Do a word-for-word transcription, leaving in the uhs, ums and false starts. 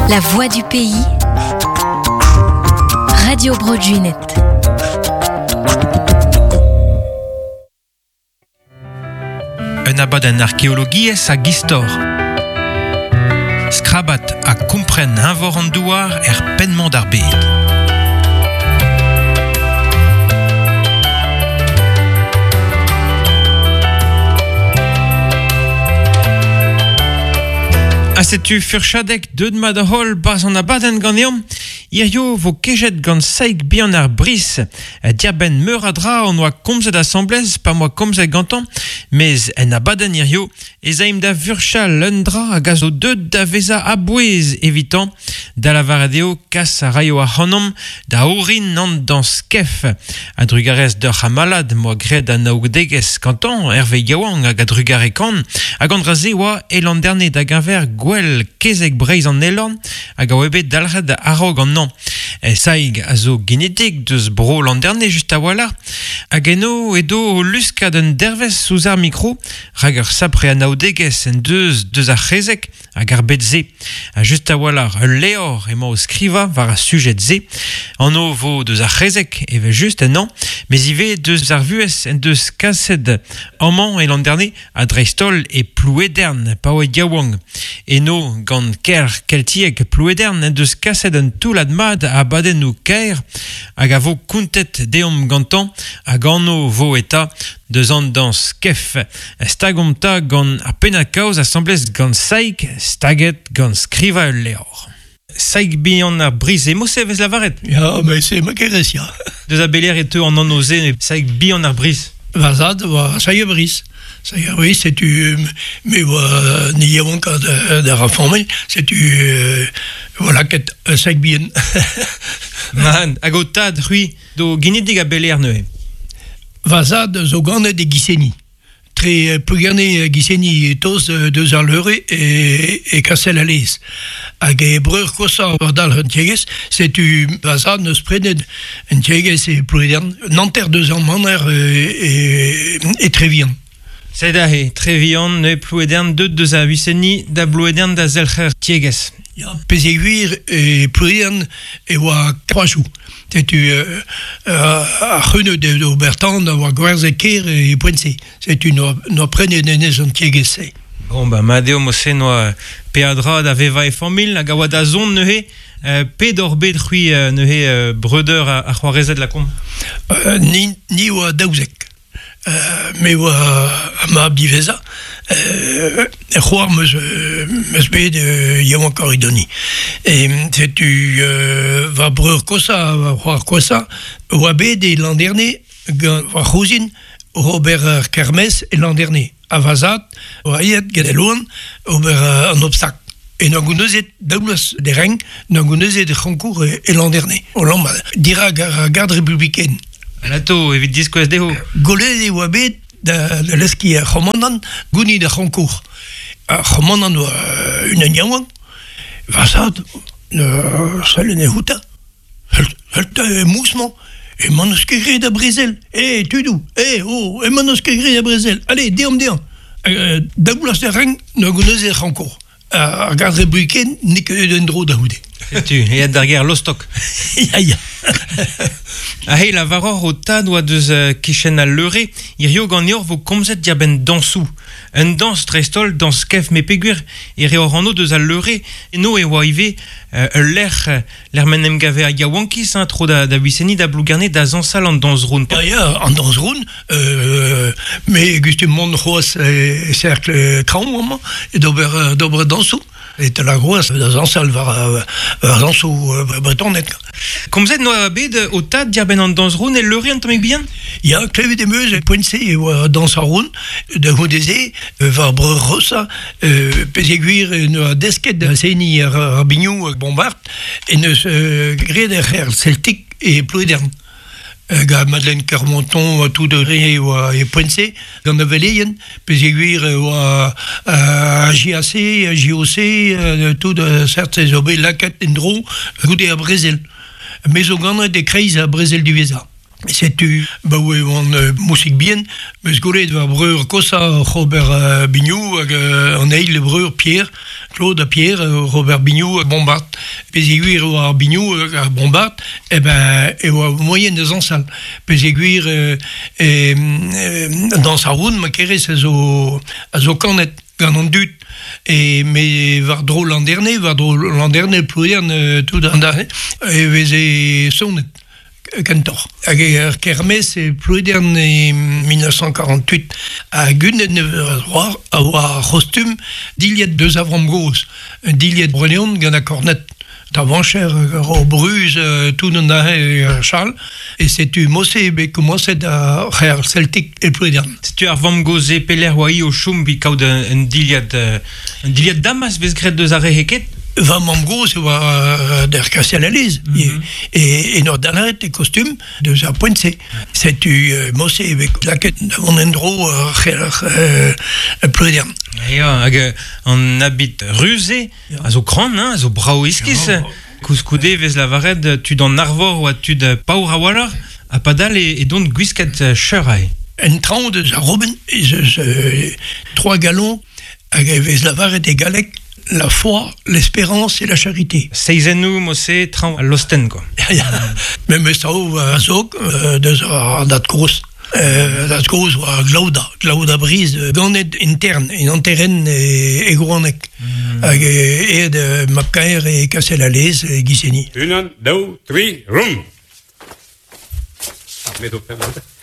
La voix du pays. Radio Bro Gwened. Un abadenn arkeologiezh hag istor. Skrabat ha kompren eñvor an douar er penn-mañ d'ar bed. Ha setu furchadek deud mat a holl baz an abadenn ganeomp. Hirio vo kejet gant Saig Bihan ar Bris. Diarbenn meur a dra on oa komzet asamblez, pa moa komzet gantañ, mez en abadenn hirio ez aimp da vurchal un dra hag a zo deud da veza a-bouez evitan, da lavaret eo kas a raio ac'hanomp da orin an dañs kef. A drugarez d'ur c'hamalad moa graet an aoudegezh gantañ, Hervé Yaouank hag a drugare kan, hag an dra se oa e Landerne da geñver gwell kezeg Breizh an Elorn hag a oa bet dalc'het a-raok an an. Saig a zo genetik deus bro Landerne just a-walc'h hag eno edo o luskad un dervez ouzh ar mikro rak ur sapre anaoudegezh en deus deus ar c'hezeg hag ar bet se. Ha just a-walc'h ul levr emañ o skrivañ war ar sujet se. Anv vo deus ar c'hezeg evel just en an, mez ivez deus ar vuhez en deus kaset amañ e Landerne ha dreist-holl e Plouedern pa oa yaouank. Eno gant ker keltiek Plouedern en deus kaset un toullad mat a abadennoù kaer hag a vo kontet deomp gantañ hag anv vo eta deus an dañs kef. Stagomp ta gant ar pennad-kaoz asamblez gant Saig, staget gant skrivañ ul levr. Saig Bihan ar Bris, emañ se vez lavaret? Ya, mais c'est ma kerez, ya. Deus a beler e teu an anv se, Saig Bihan ar Bris. Va zad oa Saig ar Bris. Saig ar Bris, setu me oa ni yaouank d'ar ar familh, setu euh, voilà ket Saig Bihan. Man, hag o tad, c'hwi, do genidik a beler neuze. Va zad zo ganet e Giseni. Tre Plougerne Giseni toz deus ar leure e, e Kastel a Lez. Hag e breur kosañ war dalc'h un tiegezh, setu va zad neus prenet un tiegezh e Plouedern, nanter deus an maner e, e, e Trevian. Sed aze, Trevian, neuze Plouedern, deut deus a Wiseni da Blouedern da zelc'her tiegezh. Ya, pezeguir e Plouedern e oa kroazoù. Setu euh, ar c'heuneud de Obertan a oa gwerzhet ker e poent-se. Setu noa, noa prenet enez an tiegezh-se. Bon, ba, mat eo mo-se noa peadra da vevañ e familh hag a oa da zont neuze, euh, pet oc'h bet c'hwi euh, neuze euh, breudeur ar, ar c'hoarezed lakaomp? Euh, ni, ni oa daouzek. Euh, me oa mab diwezhañ. Euh, c'hoar meus, meus bet euh, yaouank idoni. E setu euh, va breur kosañ, va c'hoar kosañ, oa bet e Landerne gant va c'houzin ober ar kermez e Landerne. A va zad, oa aet get e loan ober an obstak. E n'an gounezet daoulaz de reng, n'an gounezet e c'honkour e, e Landerne. O lamma, dirag ar garde républicaine. Alato, evit diskouez dezho. Golet e oa bet da, da leski ar c'homandant gounid ar c'honkour. Ar c'homandant oa unan yaouank, va zad, sell en e houta. Heult e mousmañ, emañ n'eus ket graet a brezel. Eh, tudou, eh, oh, emañ n'eus ket graet a brezel. Allez, deomp deomp. Euh, daoulaz da reng, n'o gounezet ar c'honkour. Ar garde républicaine n'eo ket un dro da c'houde. Setu, eat d'ar gêr Lostok. Ya, ya. Ha he lavaror o tad oa deus uh, kichen al leure, hirio ganeoc'h vo komzet diarbenn dañsoù. Un dañs dreist-holl, dañs kef me peogwir, e reor anv deus al leure, eno e oa ivez uh, ul lec'h, lec'h m'en em gave a yaouankiz, hein, tro da, da Wiseni, da Blougerne, da zañsal an dañs-roun. Ya, ya, an dañs-roun, euh, me gustum mont c'hoazh e cercle traoñ amañ, e d'ober, d'ober dañsoù. E te la groaz da zañsal war, war dañsoù bretonet. Komzet noa bet o tad diarbenn an dañs-roun e leure an tammig bihan? Ya, klevet em eus e poent-se e oa dañs ar roun, da c'houde-se, war breur rosa, euh, pezeguir noa desket da seniñ ar, ar biniou hag bombard, e neus euh, graet ar c'her celtique e Plouedern. Gant Madeleine Kermonton oa tout de re oa e poent-se, gant a veleien, pezeguir oa uh, J A C, J O C, uh, tout uh, cert zo bet lakaet en dro goude ar brezel. Me zo ganet e kreiz ar brezel diwezhañ. Setu ba oe oan euh, mousik bien, meus golet va breur kosa Robert euh, Bignou hag euh, an eil breur Pierre, Claude ha Pierre, euh, Robert Bignou hag Bombard. Pez e gwir oa ar Bignou hag ar Bombard, e ben e oa moyen da zansal. Pez e gwir euh, e, euh, dans ar roun ma kerez a zo, a zo kanet gant an dud. E me war dro l'an dernier, war dro l'an dernier ploudern euh, tout an da, e veze sonet kentoc'h. Hag e ar kermez e Ploedern e mil nav c'hant quarante-huit a gunnet ne a a oa c'hostum dilhet deus avram goz. Un dilhet breneon gant a kornet. Tavancher, ur bruz, tout an ahe chal. E setu mosse be komanset a c'her Celtic e Ploedern. Setu ar vamm goz e peler oa i o choum bi kaout un, un dilhad, un dilhad damas vez graet deus ar re heket? Va mamm goz e oa euh, der Kastel Alez. Mm -hmm. E, e nor dalaret e kostum deus ar poent-se. Setu euh, mosse be laket an endro euh, c'her euh, Ploedern. Ya, hag an habit ruze, a zo kran, hein, a zo brao iskis. Ja. Koulskoude vez lavaret tud an arvor oa tud paour a-walc'h, ha padal e, e dont gwisket cheur ae. En traoñ deus ar Robin, ez eus euh, trois galons hag e vez lavaret e galleg la foi, l'espérance et la charité. Seizennou, mosse, traoñ al losten, quoi. Me meus tao a zog euh, deus ar dat koz. Euh, dat koz oa Glauda, Glauda Briz, ganet intern, en anteren e, e Grouanek. Mm. Hag e ed mapkaer e Kastel Alez e Giseni. Unan, daou, tri, rum! Ah, met o pemp.